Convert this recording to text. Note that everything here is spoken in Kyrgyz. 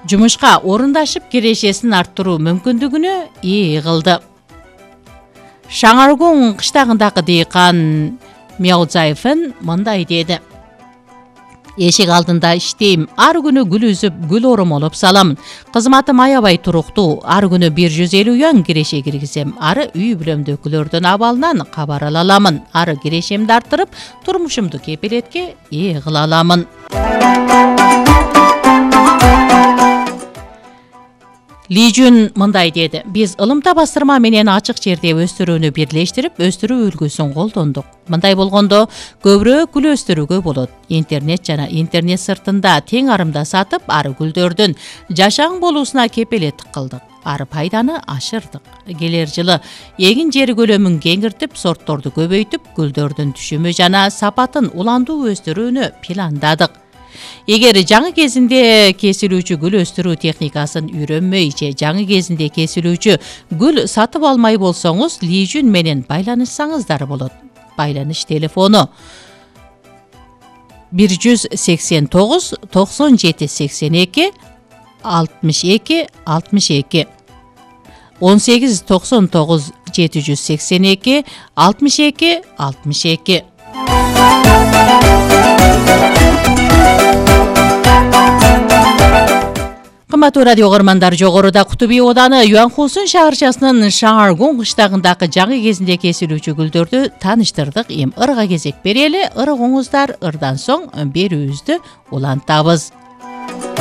жумушка орундашып кирешесин арттыруу мүмкүндүгүнө ээ кылды. Шаңаргон кыштагындагы дыйкан Мяузаевен мындай деди: эшик алдында иштейм, ар күнү гүл үзүп, гүл оромолоп салам. Кызматым аябай туруктуу, ар күнү 150 юан киреше киргизем. Ары үй бүлөмдөгүлөрдүн абалынан кабар ала аламын. Ары кирешемди арттырып, турмушумду кепилетке ээ кыла аламын. Ли Жун мындай деди: биз ылымта бастырма менен ачык жерде өстүрүүнү бирлештирип, өстүрүү үлгүсүн колдондук. Мындай болгондо көбүрөөк гүл өстүрүүгө болот. Интернет жана интернет сыртында тең арымда сатып, ары гүлдөрдүн жашаң болуусуна кепилеттик кылдык. Ары пайданы ашырдык. Келер жылы эгин жер көлөмүн кеңиртип, сортторду көбөйтүп, гүлдөрдүн түшүмү жана сапатын уландуу өстүрүүнү пландадык. Эгер жаңы кезинде кесилүүчү гүл өстүрүү техникасын үйрөнмөй же жаңы кезинде кесилүүчү гүл сатып алмай болсоңуз, Ли Жун менен байланышсаңыздар болот. Байланыш телефону 189 97 82 62 62 18 99 782 62 62. Кымбаттуу радио угармандар, жогоруда Кутуби ооданы Юанхусун шаарчасынын Шаңаргон кыштагындагы жаңы кезинде кесилүүчү гүлдөрдү тааныштырдык. Эми ырга кезек берели. Ырыгыңыздар, ырдан соң берүүбүздү улантабыз.